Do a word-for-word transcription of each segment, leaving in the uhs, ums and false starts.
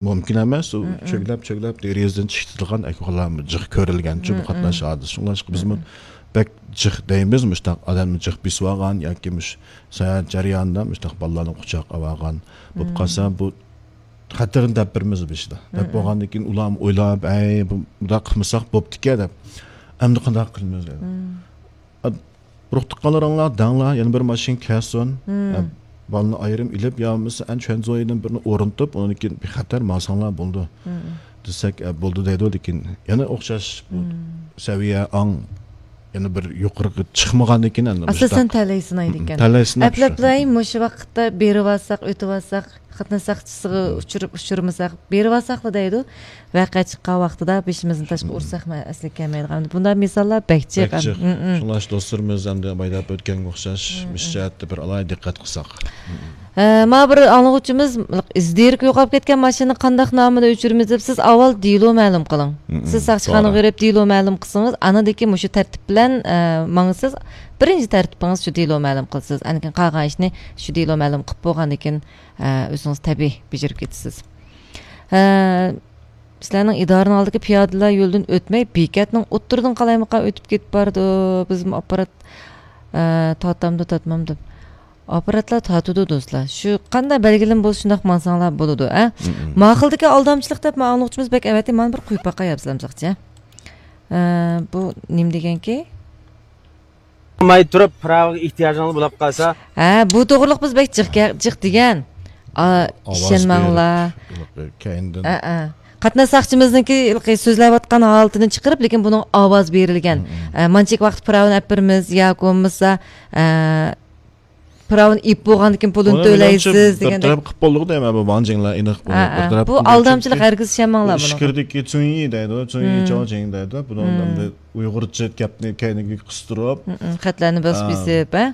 مۇمكىن ئەمەس، ئۇ چۆگلەپ، چۆگلەپ دېرىزىدىن چىقىدىغان ئەھۋاللارمۇ جىق كۆرۈلگەن شۇ بۇ قاتناش ھادىسىسى. شۇڭلاشقا بىزمۇ بەك جىق دەيمىز، مۇشۇنداق ئادەمنى جىق بېسىۋالغان ياكى مۇش ساياھەت جەريانىدا مۇشۇنداق بالىلارنى قۇچاق ئاۋالغان بولۇپ قالسا، بۇ خەتەرنى دەپ بېرىمىز بېشىدا. دەپ بولغاندىن كېيىن ئۇلارمۇ ئويلاپ، ئەي، بۇ-، بۇنداق قىلمىساق بوپتىكەن دەپ. ئەمدى قانداق قىلىمىز دەيدۇ. ئا، ئۇرۇق تۇغقانلىرىڭلار دەڭلار، يەنە بىر ماشىنا كەلسۇن. ئە، بالىنى ئايرىم ئېلىپ، يا بولمىسا ئەن چۈەنزۇيدىن بىرنى ئورنىتىپ، ئۇنىڭدىن كېيىن بىخەتەر ماڭساڭلار بولىدۇ دېسەك، ئە، بولىدۇ دەيدۇ، لېكىن يەنە ئوخشاش بۇ سەۋىيە ئاڭ يەنە بىر يۇقىرىغا چىقمىغاندىكىن ئەمدى ئاساسەن مۇشۇنداق تەلەي سىنايدىكەن. تەلەي سىناپ شۇ. ئەپلەپلەي مۇشۇ ۋاقىتتا بېرىۋالساق، ئۆتۈۋالساق، خىتنە ساقچىسىغا ئۇچۇر-، ئۇچرىمىساق، بېرىۋالساقلا دەيدۇ. ۋەقە چىققان ۋاقتىدا بېشىمىزنى تاشقا ئۇرساقمۇ ئەسلىگە كەلمەيدىغان. بۇنداق مىساللار بەك جىق. بەك جىق. شۇڭلاشقا دوستلىرىمىز ئەمدى بايدا ئۆتكەنگە ئوخشاش مۇشۇ جەھەتتە بىر ئالاھىدە دىققەت قىلساق. ھە، مانا بىر ئاڭلىغۇچىمىز، ئىز دېرىكى يوقاپ كەتكەن ماشىنىنى قانداق نامىدا ئۆچۈرىمىز دەپ، سىز ئاۋۋال دېلو مەلۇم قىلىڭ. سىز ساقچىخانىغا بېرىپ دېلو مەلۇم قىلسىڭىز، ئاندىن كېيىن مۇشۇ تەرتىپ بىلەن، ئە، ماڭىسىز. بىرىنچى تەرتىپىڭىز شۇ دېلو مەلۇم قىلىسىز. ئاندىن كېيىن قالغان ئىشنى شۇ دېلو مەلۇم قىلىپ بولغاندىن كېيىن، ئە، ئۆزىڭىز تەبىئىي بېجىرىپ كېتىسىز. ئە، سىلەرنىڭ ئىدارىنىڭ ئالدىدىكى پىيادىلەر يولىدىن ئۆتمەي، بېكەتنىڭ ئوتتۇرىدىن قالايمىقان ئۆتۈپ كېتىپ بارىدۇ. بىزمۇ ئاپپارات، ئە، تارتامدۇ، تارتمامدۇ. ئاپپاراتلار تارتىدۇ دوستلار. شۇ قانداق بەلگىلىمە بولسا شۇنداق ماڭساڭلار بولىدۇ، ئە؟ ماقۇلدىكى ئالدامچىلىق دەپ ماڭغۇچىمىز بەك ئەۋەتتى. مانا بىر قويۇپ باقاي ئەپسىلەمساقچە. ئە، بۇ نېمە دېگەنكى؟ قىلماي تۇرۇپ، پىراۋىغا ئېھتىياجىڭىز بولۇپ قالسا. ھە، بۇ توغرىلىق بىز بەك جىق گە-، جىق دېگەن. ئا، ئاۋاز ئىشەنمەڭلار. بېرىپ، كەينىدىن. ئە، ئە. قاتناش ساقچىمىزنىڭكى سۆزلەۋاتقان ھالىتىنى چىقىرىپ، لېكىن بۇنىڭ ئاۋاز بېرىلگەن. ئە، مانچىك ۋاقىت پىراۋىنى ئەپ بېرىمىز ياكى بولمىسا، ئە، پىراۋىنى ئېلىپ بولغاندىن كېيىن پۇلىنى ئۇنى مېنىڭچە تۆلەيسىز بىر دېگەندەك. تەرەپ قىلىپ بولدىغۇ دەيمەن، بۇ ۋاڭ جىڭلار ئېنىق بۇ ھە، بىر ھە. تەرەپ بۇ قىلىپ ئالدامچىلىق، چۈنكى ھەرگىز ئىشەنمەڭلار بۇ بۇنىڭغا. ئىچكىرىدىكى چۈنيى دەيدۇ، چۈنيى چاۋجىڭ دەيدۇ. بۇنىڭ ئەمدى ئۇيغۇرچە گەپنى كەينىگە قىستۇرۇپ، خەتلەرنى باسىپ ئا، بېسىپ، ھە؟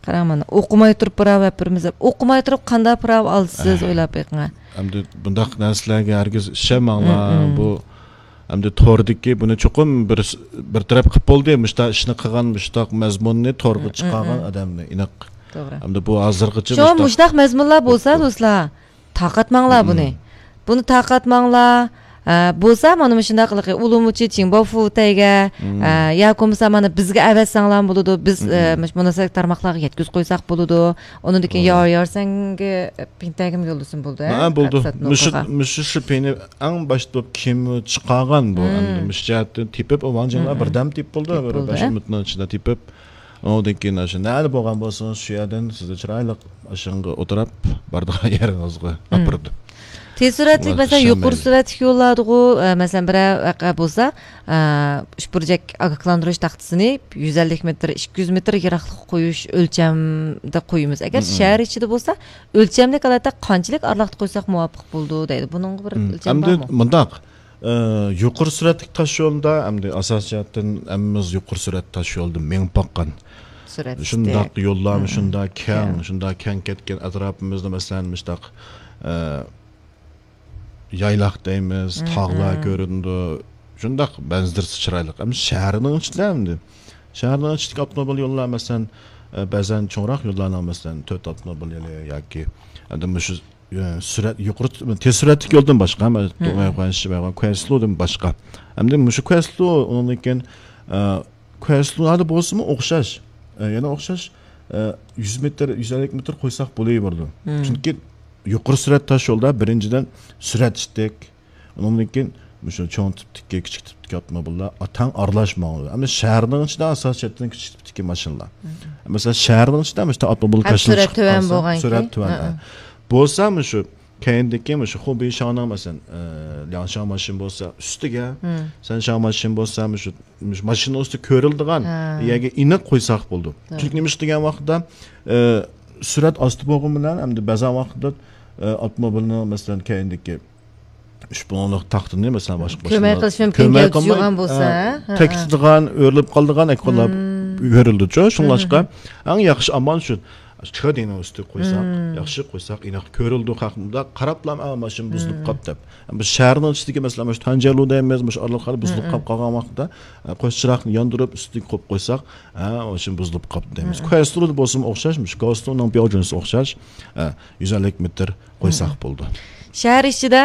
قاراڭ مانا، ئوقۇماي تۇرۇپ پىراۋ ئەپ بېرىمىز دەپ. ئوقۇماي تۇرۇپ قانداق پىراۋ ئالىسىز، ئويلاپ بېقىڭ. ئەمدى بۇنداق نەرسىلەرگە ھەرگىز ئىشەنمەڭلار. بۇ ئەمدى توردىكى بۇنى چوقۇم بىر، بىر تەرەپ قىلىپ بولدى. مۇشۇنداق ئىشنى قىلغان، مۇشۇنداق مەزمۇننى تورغا چىقارغان ئادەمنى ئېنىق. توغرا. ئەمدى بۇ ھازىرغىچە شۇ مۇشۇنداق مۇشۇنداق مەزمۇنلار بولسا، بوپتۇ. دوستلار، تارقاتماڭلار بۇنى. بۇنى تارقاتماڭلار. ئە، بولسا مانا مۇشۇنداق قىلىقى، ئۇلۇمۇچى چىڭباۋفۇتەيگە، ئە، ياكى بولمىسا مانا بىزگە ئەۋەتسەڭلار بولىدۇ. بىز، ئە، مۇش-، مۇناسىۋەتلىك تارماقلارغا يەتكۈزۈپ قويساق بولىدۇ. ئۇنىڭدىن كېيىن ياۋ يارسەنگە پىڭتەيگىمۇ يوللىسىمۇ بولىدۇ، ھە؟ ھە، بولىدۇ. مۇشۇ، مۇشۇ شىپىنى ئەڭ باشتا بولۇپ كىم چىقارغان بۇ؟ ئەمدى مۇشۇ جەھەتتىن تېپىپ، ۋاڭ جىڭلار بىردەم تېپىپ بولدى، بىر بەش مىنۇتنىڭ ئىچىدە تېپىپ. ئۇنىڭدىن كېيىن ئاشۇ نەدە بولغان بولسىڭىز، شۇ يەردىن سىزنى چىرايلىق ئاشۇنىڭغا ئولتۇرۇپ بارىدىغان يېرىڭىزگە ئاپىرىدۇ. تېز سۈرئەتلىك، مەسىلەن، يۇقىرى سۈرئەتلىك يوللاردىغۇ، ئە، مەسىلەن، بىرەر ۋەقە بولسا، ئە، ئۈچ بۇرجەك ئاگاھلاندۇرۇش تاختىسىنى يۈز ئەللىك مېتىر، ئىككى يۈز مېتىر يىراقلىققا قويۇش ئۆلچەمدە قويىمىز. ئەگەر شەھەر ئىچىدە بولسا، ئۆلچەملىك ھالەتتە قانچىلىك ئارىلىقتا قويساق مۇۋاپىق بولىدۇ دەيدۇ. بۇنىڭغا بىر ئۆلچەم بارمۇ؟ ئەمدى مۇنداق، ئى، يۇقىرى سۈرئەتلىك تاشيولدا ئەمدى ئاساسىي جەھەتتىن ھەممىمىز يۇقىرى سۈرئەت تاشيولدا مېڭىپ باققان. شۇنداق يوللارمۇ شۇنداق كەڭ، شۇنداق كەڭ كەتكەن ئەتراپىمىزدا، مەسىلەن، مۇشۇنداق، ئى، يايلاق دەيمىز، تاغلار كۆرۈنىدۇ. شۇنداق مەنزىرىسى چىرايلىق. ئەمدى شەھەرنىڭ ئىچىدە ئەمدى. شەھەرنىڭ ئىچىدىكى ئاپتوموبىل يوللار، مەسىلەن، ئە، بەزەن چوڭراق يوللارنىڭ، مەسىلەن، تۆت ئاپتوموبىل يولى ياكى ئەمدى مۇشۇ، ئە، سۈرئەت، يۇقىرى، تېز سۈرئەتلىك يولدىن باشقا، مە-، دوڭياۋخۇەنشى، مەيخۇەن، كۇەنسلۇدىن باشقا. ئەمدى مۇشۇ كۇەنسلۇ، ئۇنىڭدىن كېيىن، ئە، كۇەنسلۇدا بولسىمۇ ئوخشاش. ئە، يەنە ئوخشاش، ئە، يۈز مېتىر، يۈز ئەللىك مېتىر قويساق بولۇۋېرىدۇ. چۈنكى يۇقىرى سۈرئەت تاش يولدا بىرىنچىدىن سۈرئەت ئىتتىك، ئۇنىڭدىن كېيىن مۇشۇ چوڭ تىپتىكى، كىچىك تىپتىكى ئاپتوموبىللار تەڭ ئارىلاش ماڭىدۇ. ئەمما شەھەرنىڭ ئىچىدە ئاساسىي جەھەتتىن كىچىك تىپتىكى ماشىنىلار. مەسىلەن، شەھەرنىڭ ئىچىدە مۇشۇ ئاپتوموبىل ھەم كاشىلىنىپ سۈرئەت چىقىپ تۆۋەن قالسا، بولغان سۈرئەت كېيىن. تۆۋەن، ھە. بولسا مۇشۇ كەينىدىكى مۇشۇ خۇبېي شاڭنىڭ، مەسىلەن، ئە، لياڭشاڭ ماشىنا بولسا ئۈستىگە، سەنشاڭ ماشىنا بولسا مۇشۇ، مۇشۇ ماشىنا ئۈستىگە كۆرۈلىدىغان يەرگە ئېنىق قويساق بولىدۇ. چۈنكى نېمە ئىش دېگەن ۋاقىتتا، ئە، سۈرئەت ئاستا بولغان بىلەن ئەمدى بەزى ۋاقىتتا، ئە، ئاپتوموبىلنىڭ، مەسىلەن، كەينىدىكى ئۈچ بۇلۇڭلۇق تاختىنى، مەسىلەن، باشقا كۆمەي قىلىش مۇمكىن، كۆمەي گەۋدىسى قىلماي، يوغان بولسا، ئە، ھە، ھە. تەكتىدىغان، ئۆرۈلۈپ قالىدىغان ئەھۋاللار كۆرۈلىدۇچۇ. شۇڭلاشقا ئەڭ ياخشى ئامال شۇ، چىقىدىنىڭ ئۈستىگە قويساق، ياخشى قويساق، ئېنىق كۆرۈلىدۇ، خەلقمۇ قاراپلا، ئا، ماشىنا بۇزۇلۇپ قاپتۇ دەپ. بىز شەھەرنىڭ ئىچىدىكى، مەسىلەن، مۇشۇ تەنجەلۇ دەيمىز، مۇشۇ ئارىلىقلاردا بۇزۇلۇپ قاپ قالغان ۋاقىتتا، ئە، قوش چىراغنى ياندۇرۇپ، ئۈستىگە قويۇپ قويساق، ئە، ماشىنا بۇزۇلۇپ قاپتۇ دەيمىز. كۇەنسلۇدا بولسىمۇ ئوخشاش، مۇشۇ كۇەنسلۇنىڭ بياۋجۈنىسى ئوخشاش، ئە، يۈز ئەللىك مېتىر قويساق بولىدۇ. شەھەر ئىچىدە